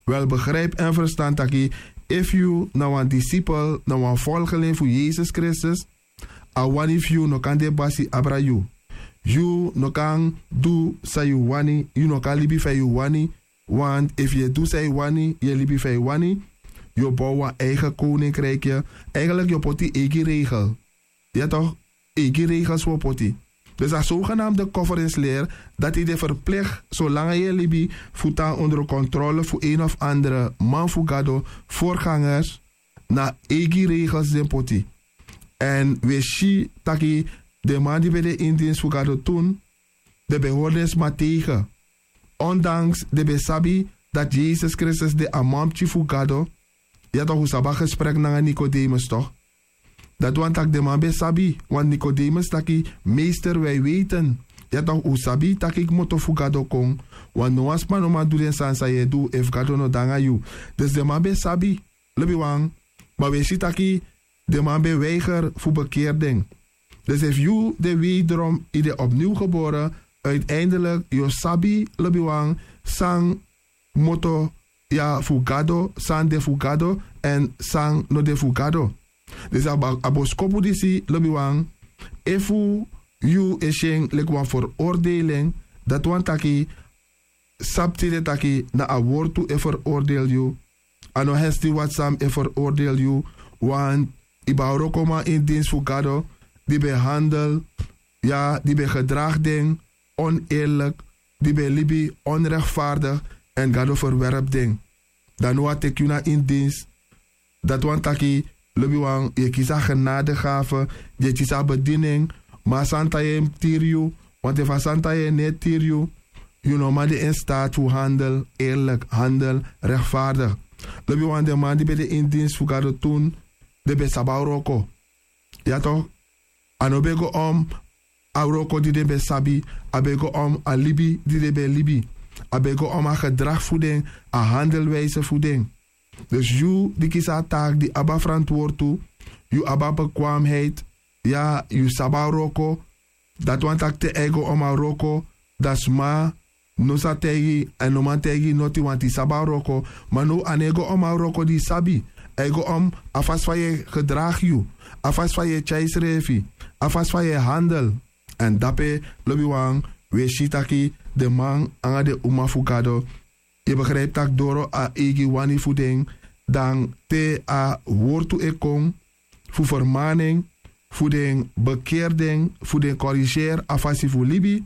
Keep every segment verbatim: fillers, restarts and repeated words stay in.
Wel, begrijp en verstan taki, efu yu na wan disipel, na wan volgeling fu Yesus Kristus, a wani fu yu no kan de basi abra yu. Yu no kan du san yu wani, yu no kan libi fa yu wani. Want efu yu e du san yu wani, yu e libi fa yu wani, yu o bow wan eigen koninkrikye. Eigenlik yu o poti eigi regel. Ya tok, eigi regels wi o poti. Dus a sogenamde koferensler, dati de verplicht solanga yu e libi, fu tan onder kontrole fu een of andere man fu Gado, voorgangers, na eigi regels den poti. Èn wi e si taki den man di ben de in dins fu Gado tun, den ben hori den sma tegen. Ondanks den ben sabi dati Yesus Kristus de a manpikin fu Gado. Ya tok, un sabi a gesprek nanga Nikodemus tok. Dati wani taki den man ben sabi, want Nikodemus taki: Meester, wij weten. Ya tok, un sabi taki kmoto fu Gado kon, want no wan sma no man du den sani san yu e du efu Gado no de nanga yu. Dus den man ben sabi, lobiwan, ma wi e si taki den man ben weiger fu bekeri den. Dus efu yu de wederom, yu de opnieuw geboren, uiteindelijk yu o sabi, lobiwan, san kmoto ya fu Gado, san de fu Gado èn san no de fu Gado. Dus a ba-, a boskopu disi, lobiwan, efu yu e si en leki wan veroordeling, dati wani taki, sabi tide taki na a wortu e veroordeel yu. A no hesti wat san e veroordeel yu, want yu ben a wrokoman in dins fu Gado, di ben handel, ya, di ben gedraag den oneerlijk, di ben libi onrechtvaardig, èn Gado verwerp den. Dan now a teki yu na in dins. Dati wani taki, lobiwan, yu e kisi a genadegave, yu e kisi a bediening, ma a santa yu e tiri yu, want efu a santa yu e no e tiri yu, yu no man de in staat fu handel eerlijk, handel rechtvaardig. Lobiwan, den man di ben de in dins fu Gado tun, den ben sabi a wroko. Ya tok, a no ben go om a wroko di den ben sabi, a ben go om a libi di den ben libi. A ben go om a gedrag fu den, a handelwijze fu den. Dus yu di kisi a taak di abi a verantwoord tu, yu abi a bekwaamheid, ya, yu sabi a wroko, dati wani taki te a e go om a wroko, dan sma no sa taigi, èn no man taigi noti, want yu sabi a wroko. Ma now a no e go om a wroko di yu sabi, a e go om a fasi fa yu e gedraag yu, a fasi fa yu e tyai yusrefi, a fasi fa yu e handel. Èn dape, lobiwan, wi e si taki den man nanga den uma fu Gado, yu e begrijpi taki doro a eigi wani fu den, dan te a wortu e kon fu vermaning, fu den bekeri den, fu den korigeri a fasi fu libi,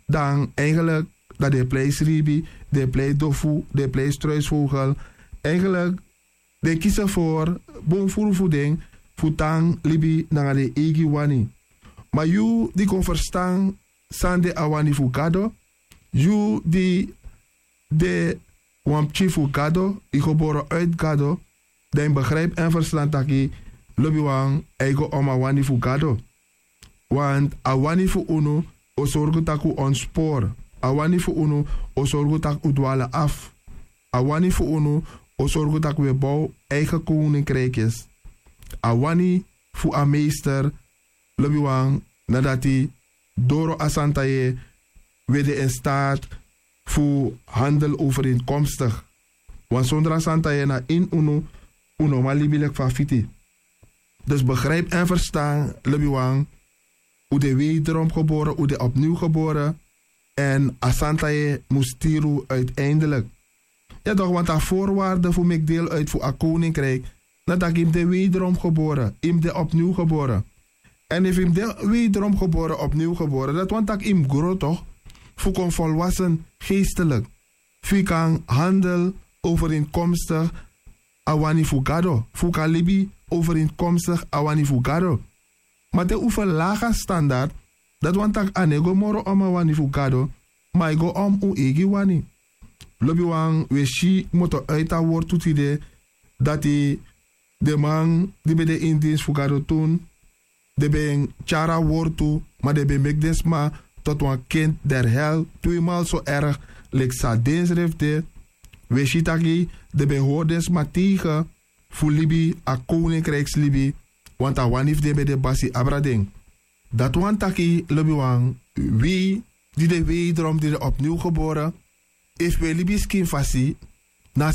dan eigenlijk dan den e plei sribi, den e plei dofu, den e plei struisvogel. Eigenlijk den e kisi voor bun furu fu den fu tan libi nanga den eigi wani. Ma yu di kon verstan san de a wani fu Gado, yu di de wan pikin fu Gado, yu geboren uit Gado, dan yu begrijpi èn verstan taki, lobiwan, a e go om a wani fu Gado. Want a wani fu unu o sorgu taki un ontspoor. A wani fu unu o sorgu taki un dwalen af. A wani fu unu o sorgu taki un e bow eigen koninkrikjes. A wani fu a meester, lobiwan, na dati doro a santa yeye un e de in staat fu handel overeenkomstig. Want zonder a santa yeye na ini unu, un no man libi leki fa a fiti. Dus begrijpi èn verstan, lobiwan, un de wederom geboren, un de opnieuw geboren, èn a santa yeye mus tiri un uiteindelijk. Ya toch, want a voorwaarde fu meki deel uit fu a koninkrijk, na taki yu mus de wederom geboren, yu mus de opnieuw geboren. Èn efu yu mus de wederom geboren, opnieuw geboren, dati wani taki yu mus gro toch, fu kon volwassen geestelijk, fu yu kan handel overeenkomstig a wani fu Gado, fu yu kan libi overeenkomstig a wani fu Gado. Ma te un verlaag a standard, dati wani taki a no e go moro om a wani fu Gado, ma a e go om un eigi wani. Lobiwan, un e si kmoto uit a wortu tide, dati den man di ben de ini dinsi fu Gado tun, den ben tyari a wortu, ma den ben meki den sma tot wan kind der hel, tweemaal zo erg leki san densrefi de. Un e si taki den ben hori den sma tegen fu libi a koninkrijkslibi, want a wani fu den ben de basi abra den. Dati wani taki, lobiwan, wi di de wederom, di de opnieuw geboren, efu un e libi skin fasi, na a